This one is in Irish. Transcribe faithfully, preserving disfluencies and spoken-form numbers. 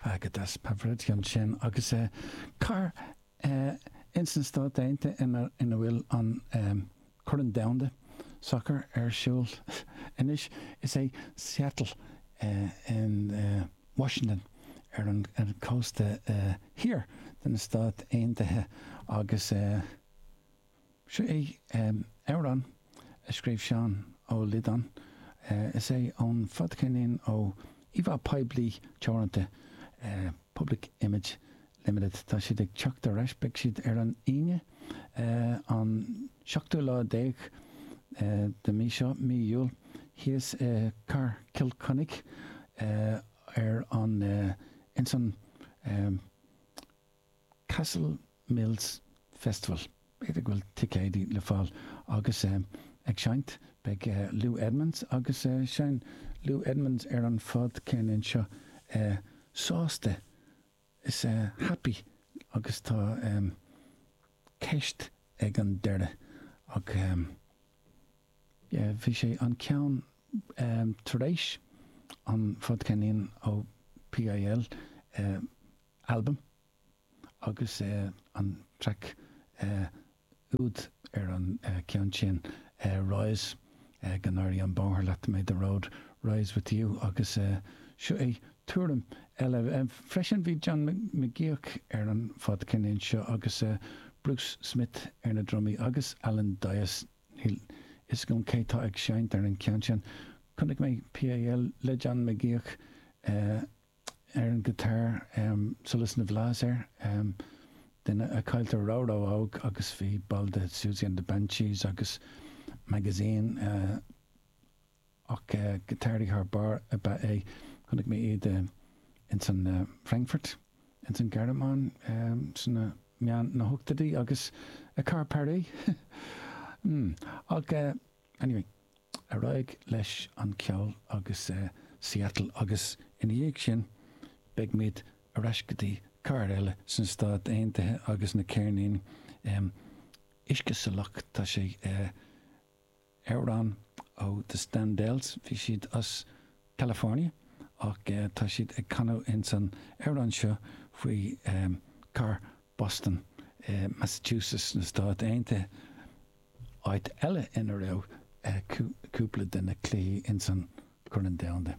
Go deas Pavarotti ansin agus cathair ins na Stáit Aontaithe ina ina bhfuil an Corn Domhanda Sacair ar siúl anois is é Seattle in Washington ar an cósta thiar de na Stáit Aontaithe agus seo é amhrán a scríobh Seán Ó Loideáin. Is é ón fadcheirnín ó Íomhá Poiblí Teoranta, Public Image Limited. Tá siad ag teacht ar ais, beidh siad ar an Aoine an seachtú lá déag de mí seo, mí Iúil, thíos i Cathair Chill Chainnigh ar an ins an Castle Mills Festival. B'fhéidir go bhfuil ticéidí le fáil agus ag seinnt beidh Lou Edmonds agus seinneann Lou Edmonds ar an fadcheirnín seo sásta is happy agus tá ceist ag an deireadh ach yeah bhí sé an ceann tar éis an fadcheirnín ó PIL album agus an traic úd ar an ceann sin Rise go n-éirí an bóthar leat may the road rise with you agus seo é tuairim eile freisin bhí John McGeoch ar an fadcheirnín seo agus Bruce Smith ar na drumaí agus Alan Dyas níl fhios agam cé tá ag seinnt ar an ceann sin. Chonaic mé PIL le John McGeoch ar an guitar Solas na bhFlaitheas air duine a cailleadh ró-ró-óg agus bhí ball de Siouxsie and the Banshees agus Magazine ach giotáraí thar barr ab ea é. Chonaic mé iad ins an Frankfurt ins an Ghearmáin sna meán na hochtóidí agus i Car Paris. mm. Ach anyway, ar aghaidh leis an ceol agus Seattle agus ina dhiaidh sin beidh muid ar ais go dtí cathair eile sna Stáit Aontaithe agus na ceirníní um, Uisce Salach tá sé uh, amhrán ó The Standells bhí siad as California ach uh, tá siad ag canadh ins an amhrán seo faoi um, cathair Boston, uh, Massachusetts na Stáit Aontaithe áit eile ina raibh uh, cúpla de na cluichí ins an Chorn Domhanda.